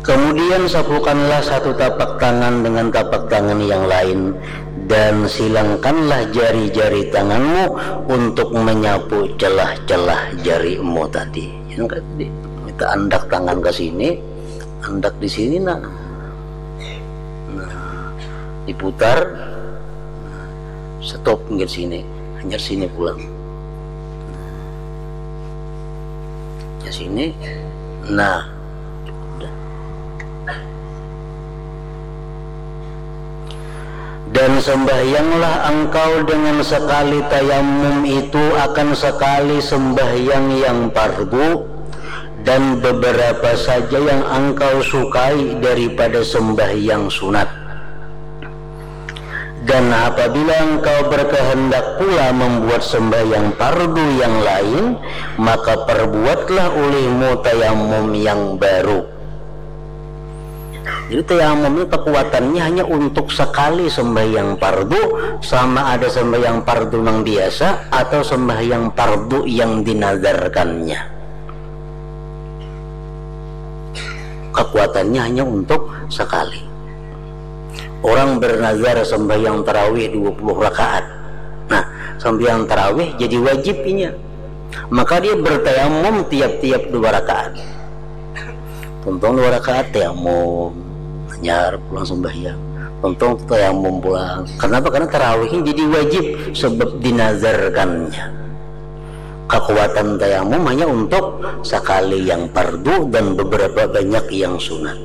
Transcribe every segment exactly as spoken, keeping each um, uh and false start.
Kemudian sapukanlah satu tapak tangan dengan tapak tangan yang lain, dan silangkanlah jari-jari tanganmu untuk menyapu celah-celah jarimu tadi. Yang tadi kita andak tangan ke sini, andak di sini, nah. Nah, diputar, stop nggak sini, hanya sini pulang. Ya sini. Nah. Dan sembahyanglah engkau dengan sekali tayamum itu akan sekali sembahyang yang fardu, dan beberapa saja yang engkau sukai daripada sembahyang sunat. Dan apabila engkau berkehendak pula membuat sembahyang fardu yang lain, maka perbuatlah olehmu tayamum yang baru. Jadi tayamum ini kekuatannya hanya untuk sekali sembahyang fardu, sama ada sembahyang fardu yang biasa atau sembahyang fardu yang dinazarkannya. Kekuatannya hanya untuk sekali. Orang bernazar sembahyang tarawih dua puluh rakaat. Nah, sembahyang tarawih jadi wajib inya. Maka dia bertayamum tiap-tiap dua rakaat. Tuntung dua rakaat tayamum, hanyar pulang sembahyang. Tuntung tayamum pulang. Kenapa? Karena tarawihnya jadi wajib sebab dinazarkannya. Kekuatan tayamum hanya untuk sekali yang fardu dan beberapa banyak yang sunat.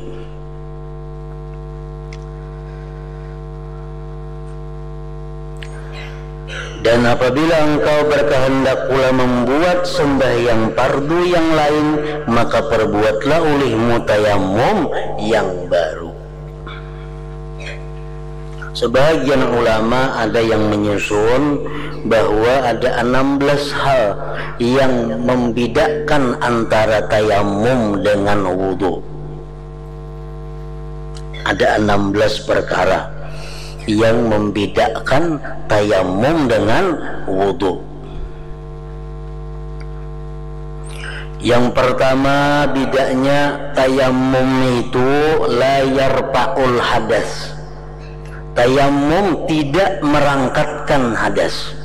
Dan apabila engkau berkehendak pula membuat sembahyang fardu yang lain, maka perbuatlah olehmu tayamum yang baru. Sebahagian ulama ada yang menyusun bahwa ada enam belas hal yang membedakan antara tayamum dengan wudu. Ada enam belas perkara yang membedakan tayamum dengan wudu. Yang pertama, bedanya tayamum itu la yarfa'ul hadas. Tayamum tidak merangkatkan hadas.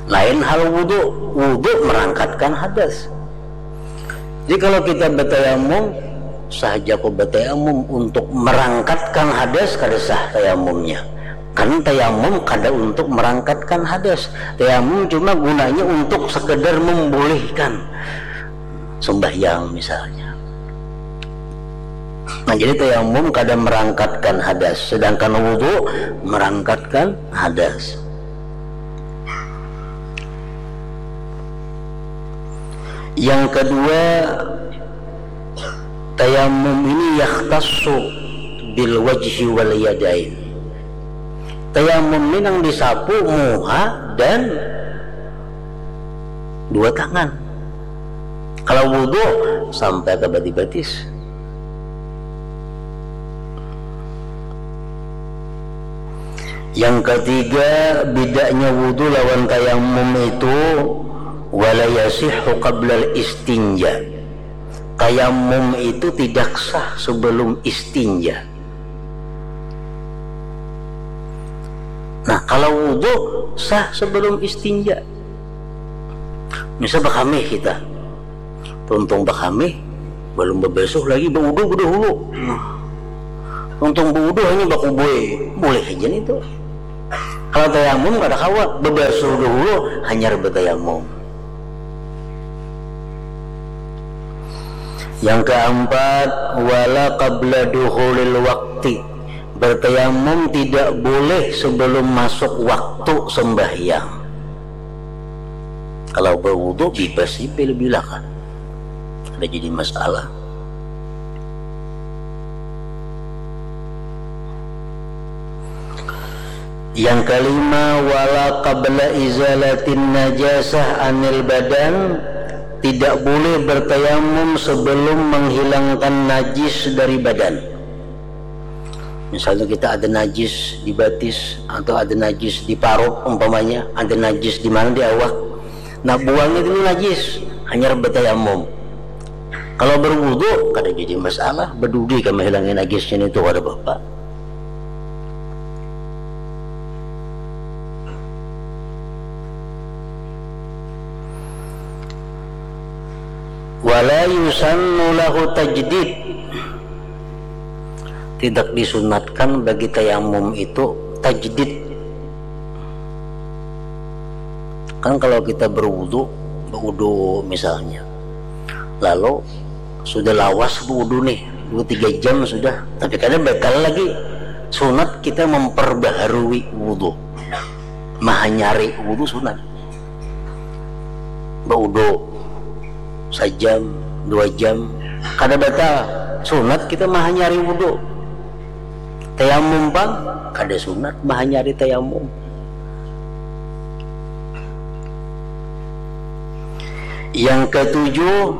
Lain hal wudu, wudu merangkatkan hadas. Jadi kalau kita bertayamum, sahaja ku bertayamum untuk merangkatkan hadas, kada sah tayamumnya. Kan tayamum kada untuk merangkatkan hadas. Tayamum cuma gunanya untuk sekedar membolehkan sembahyang misalnya. Nah, jadi tayamum kada merangkatkan hadas, sedangkan wudu merangkatkan hadas. Yang kedua, tayamum ini yakhtassu bil wajhi wal yadain. Tayamum ini nang disapu muha dan dua tangan. Kalau wudu sampai ke batis-batis. Yang ketiga, bedanya wudu lawan tayamum itu, wala yasihhu qablal istinja. Tayamum itu tidak sah sebelum istinja. Nah, kalau wudu sah sebelum istinja. Misal bakamih kita, tuntung bakamih, balum babasuh lagi, baudu badahulu. Nah, tuntung baudu hanya bakubui, boleh haja nih tu. Kalau tayamum kada kawa, babasuh dahulu hanyar batayamum. Yang keempat, wala qabla dukhulil waqti. Bertayamum tidak boleh sebelum masuk waktu sembahyang. Kalau bawudu, bibas sih bila-bila kan. Kada jadi masalah. Yang kelima, wala qabla izalatin najasah anil badan, tidak boleh bertayamum sebelum menghilangkan najis dari badan. Misalnya kita ada najis di batis atau ada najis di parut umpamanya, ada najis di mana di awak. Nah, buangnya dulu najis. hanyar batayamum. Kalau berwudu, kada jadi masalah, badudi kah mahilangi najisnya nitu, kada apa-apa. Wala yusannu lahu tajdid. Tidak disunatkan bagi tayamum itu tajdid. Kan kalau kita berwudu, berwudu misalnya, lalu sudah lawas berwudu nih, dua tiga jam sudah, tapi kada batal lagi. Sunat kita memperbaharui wudu, mahanyari wudu sunat. Baudu sajam, dua jam, kada batal. Sunat kita mahanyari wudu. Tayamum pang, kada sunat mahanyari tayamum. Yang ketujuh,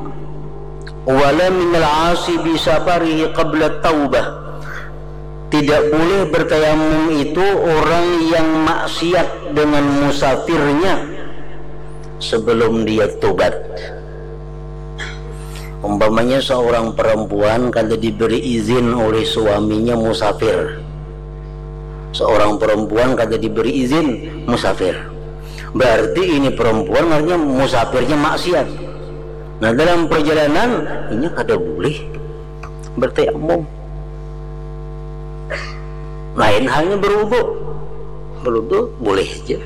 wala minal asi bisafarihi qabla taubah. Tidak boleh bertayamum itu orang yang maksiat dengan musafirnya sebelum dia tobat. Umpamanya seorang perempuan kada diberi izin oleh suaminya musafir. Seorang perempuan kada diberi izin musafir. Berarti ini perempuan artinya musafirnya maksiat. Nah, dalam perjalanan, inya kada boleh bertayamum. Lain halnya berwudu. Berwudu boleh aja.